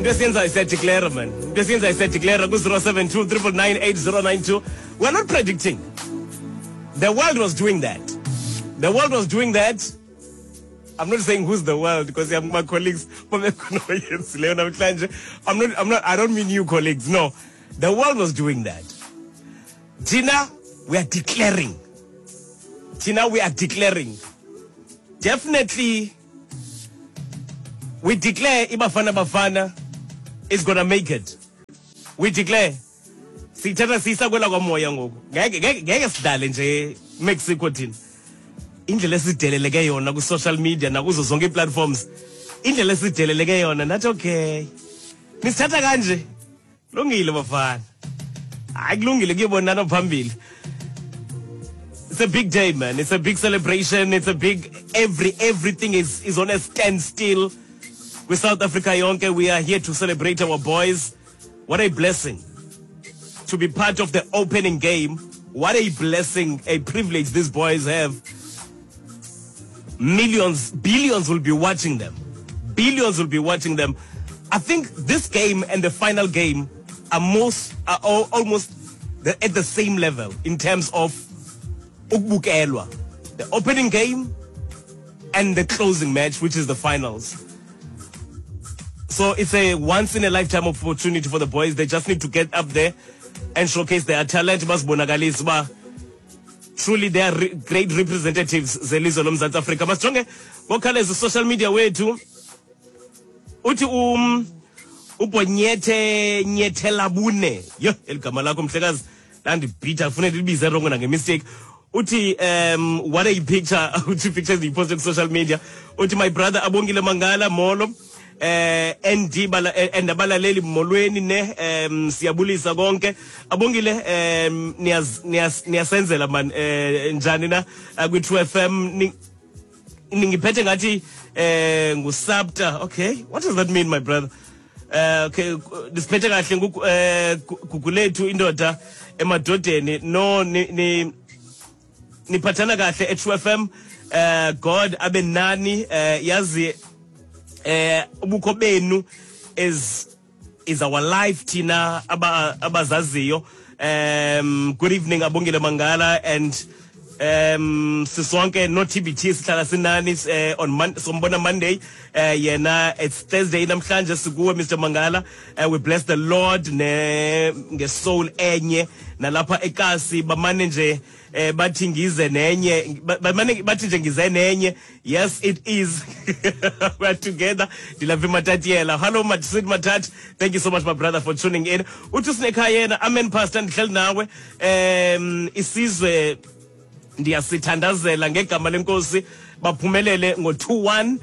Into esiyenzayo siyadeclare, man. Into esiyenzayo siyadeclare ku-072 999 8092. We're not predicting. The world was doing that. The world was doing that. I'm not saying who's the world because I'm my colleagues namhlanje. I'm not I don't mean you colleagues. No. The world was doing that. Thina, we are declaring. Thina, we are declaring. Definitely we declare iBafana Bafana is going to make it. We declare. Sithatha siyisa kwela kwamoya ngoku. Ngeke ngeke ngeke sidlale nje Mexico thina. Indlela esideleleke yona ku social media nakuzo zonke platforms. Indlela esideleleke yona nathi okay. Nisithatha kanje. Lungile bafana. Hayi kulungile kuyobonana phambili. It's a big day, man. It's a big celebration. It's a big everything is on a standstill. With South Africa yonke, we are here to celebrate our boys. What a blessing to be part of the opening game. What a blessing, a privilege these boys have. Millions, billions will be watching them. Billions will be watching them. I think this game and the final game are almost at the same level in terms of ukubukelwa. The opening game and the closing match, which is the finals. So it's a once in a lifetime opportunity for the boys. They just need to get up there and showcase their talent. Basibonakalise uba truly they are great representatives zelizwe loMzantsi Afrika. Masijonge ngokhawuleza social media wethu. Uthi uBonyethe Nyethelabune. Yho, eligama lakho mhlekazi landibhitha kufuneka ndilibize wrong nange-mistake. Uthi what a picture, uthi pictures ndiyiposte ku-social media. Uthi, "My brother Abongile Mangala, molo." ND bala and abalaleli, molweni ne siyabulisa konke. Abongile, niyaz niyas niyasenzela man njani na kwi True FM ningiphethe ngathi ngusabta. Okay, what does that mean, my brother? Okay, nisiphethe kahle ngugu Gugulethu indoda emadodeni no ni niphathana kahle e-True FM. God abe nani. Yazi ubukho benu is our life thina abazaziyo. Good evening, Abongile Mangala and sisonke no TBT, sihlala sinani on sombona Monday yena it's Thursday namhlanje sikuwe, Mr Mangala. We bless the Lord ne ngesoul enye nalapha ekasi bamane nje bathi ngize nenye bamane bathi nje ngize nenye. Yes, it is, we are together. Ndilapha eMatatiela. Hello, Sid Matat, thank you so much, my brother, for tuning in. Uthi sinekhaya yena, "Amen, pastor, ndihleli nawe. Isizwe ndiyasithandazela ngegama leNkosi baphumelele ngo-2-1.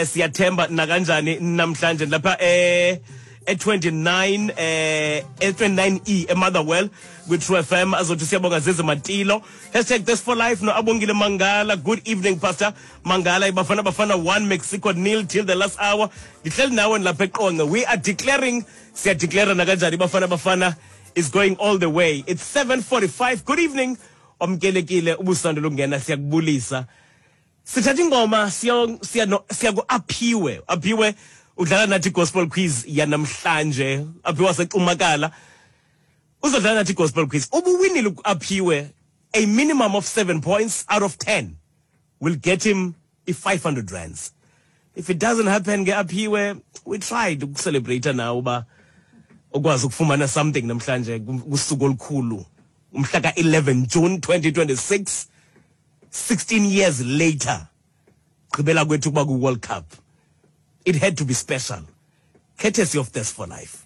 Siyathemba nakanjani namhlanje lapha e-29 e-29E eMotherwell kwi-True FM." Azothi siyabonga Zizi Matilo. #ThisForLife no Abongile Mangala. "Good evening, Pastor Mangala. IBafana Bafana 1, Mexico nil till the last hour. Ndihleli nawe lapha eQonce." We are declaring, siyadeclare nakanjani Bafana Bafana is going all the way. It's 7:45. Good evening, wamkelekile ubusando lokungena, siyakubulisa. Sithatha ingoma siya siya no, siya ku Aphiwe. Aphiwe udlala nathi gospel quiz yanamhlanje. Aphiwe waseCumakala uzodlala nathi gospel quiz. Ubuwinile Aphiwe, a minimum of 7 points out of 10 will get him i-500 rands. If it doesn't happen ke, Aphiwe, we tried ukucelebrate nawe uba ukwazi ukufumana something namhlanje kusuku olukhulu, umhla ka-11 June 2026, 16 years later gqibela kwethu kuba ku-World Cup. It had to be special, courtesy of This for Life.